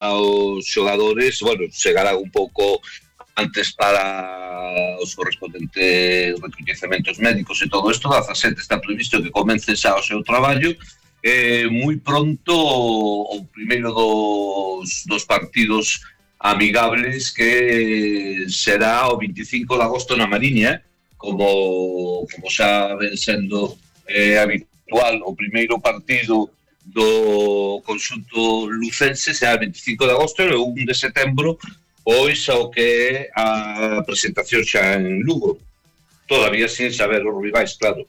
os xogadores, bueno, chegarán un pouco antes para os correspondentes recoñecementos médicos e todo isto. 17 está previsto que comece xa o seu traballo. Moi pronto o primeiro dos partidos amigables, que será o 25 de agosto na Mariña, como xa ven sendo habitual. O primeiro partido do conxunto lucense será o 25 de agosto e o 1 de setembro pois ao que é a presentación xa en Lugo, todavía sin saber os rivais, claro.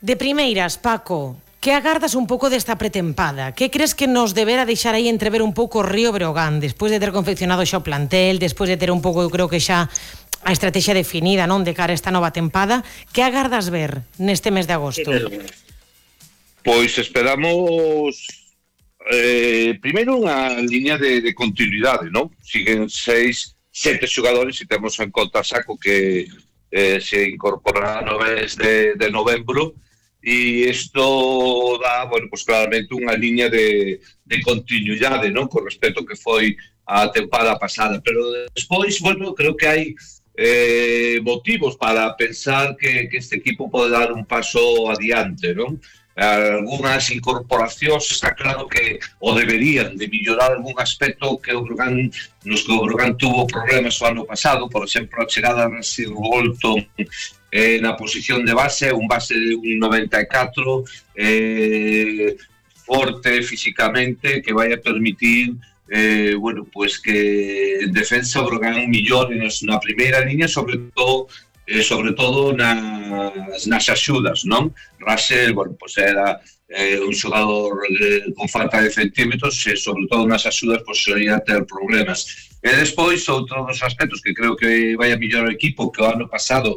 De primeiras, Paco, que agardas un pouco desta pretempada? Que crees que nos debera deixar aí entrever un pouco o Río Breogán, despois de ter confeccionado xa o plantel, despois de ter un pouco, eu creo que xa a estrategia definida, non, de cara a esta nova tempada? Que agardas ver neste mes de agosto? Pois esperamos primeiro unha liña de continuidade, non? Siguen 6-7 xogadores e temos en conta Saco que se incorporará no mes de novembro, e isto dá, bueno, pues claramente unha liña de continuidade, non? Con respecto que foi a tempada pasada, pero despois, bueno, creo que hai motivos para pensar que este equipo pode dar un paso adiante, non? Algúnas incorporacións está claro que o deberían de mellorar algún aspecto que o Breogán, nos que o Breogán tuvo problemas o ano pasado, por exemplo, a chegada de Rasir Bolton na posición de base, un base de un 94, forte físicamente, que vai a permitir bueno, pues que en defensa o Breogán millore na primeira línea, sobre todo nas axudas, non? Russell, bueno, pues era un xogador con falta de centímetros e sobre todo nas axudas pues sería ter problemas. E despois, outro dos aspectos que creo que vai a mellorar o equipo, que o ano pasado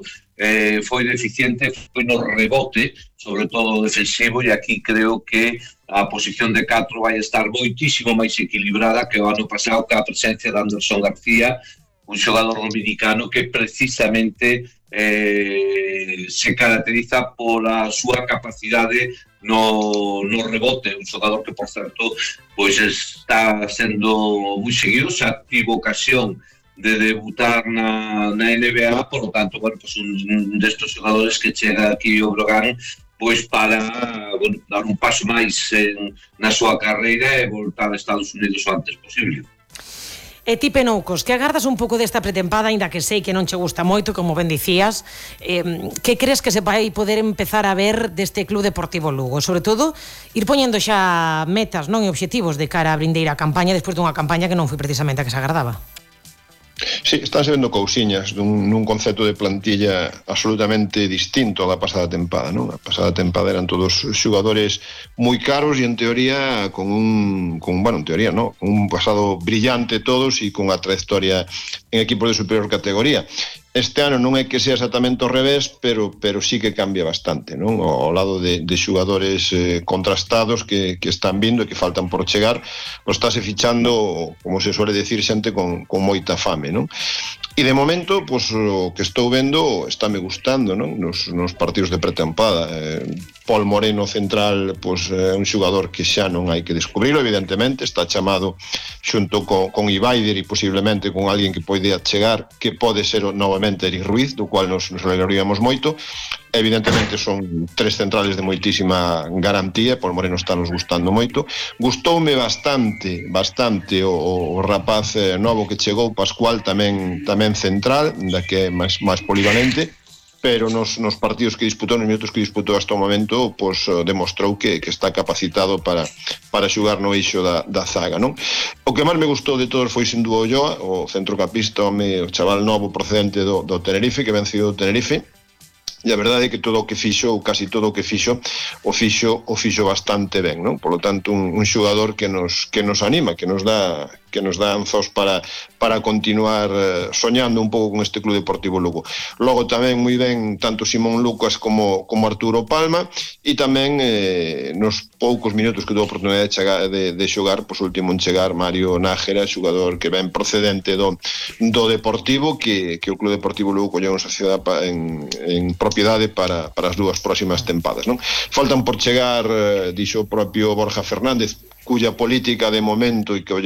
foi deficiente, foi no rebote, sobre todo defensivo, e aquí creo que a posición de 4 vai estar moitísimo máis equilibrada que o ano pasado, que a presencia de Anderson García, un xogador dominicano que precisamente se caracteriza pola súa capacidade no rebote, un xogador que, por certo, pois está sendo moi seguido, xa tivo ocasión de debutar na NBA, por lo tanto, bueno, pues un destos xogadores que chega aquí ao Breogán pois para, bueno, dar un paso máis na súa carreira e voltar a Estados Unidos o antes posible. E ti, Penoucos, que agardas un pouco desta pretempada, ainda que sei que non che gusta moito, como ben dicías, que crees que se vai poder empezar a ver deste Club Deportivo Lugo? Sobre todo, ir poñendo xa metas, non, e obxectivos de cara a vindeira campaña, despois dunha campaña que non foi precisamente a que se agardaba. Sí, estánse vendo cousiñas nun concepto de plantilla absolutamente distinto á da pasada tempada, non? A pasada tempada eran todos xogadores moi caros e en teoría con un pasado brillante todos e con a trayectoria en equipos de superior categoría. Este ano non é que sea exactamente ao revés, pero sí que cambia bastante, non? Ao lado de xogadores contrastados que están vindo e que faltan por chegar, pois estáse fichando, como se suele decir, xente con moita fame, non? E de momento, pois, o que estou vendo estáme gustando, non? Nos partidos de pretempada. Paul Moreno central, pois, é un xogador que xa non hai que descubrilo, evidentemente, está chamado xunto con Ibaider e posiblemente con alguén que poida chegar, que pode ser novamente Eric Ruiz, do cual nos alegraríamos moito. Evidentemente son tres centrales de moitísima garantía, Paul Moreno está nos gustando moito. Gustoume bastante o rapaz novo que chegou, Pascual, tamén central, da que é máis polivalente, pero nos partidos que disputou, nos minutos que disputou hasta o momento, pois demostrou que está capacitado para xugar no eixo da zaga, non? O que máis me gustou de todos foi sin dúo Ulloa, o centrocampista, o chaval novo procedente do Tenerife, que vencido o Tenerife. E a verdade é que todo o que fixo, ou casi todo o que fixo, o fixo bastante ben, non? Por lo tanto, un xogador que nos anima, que nos dá anzos para continuar soñando un pouco con este Club Deportivo Lugo. Logo tamén moi ben tanto Simón Lucas como Arturo Palma, e tamén nos poucos minutos que tuvo a oportunidade de xogar, pois o último en chegar, Mario Nájera, xogador que ven procedente do Deportivo, que o Club Deportivo Lugo colleu en sociedade en propiedade para as dúas próximas tempadas, non? Faltan por chegar, dixo o propio Borja Fernández, cuya política de momento e que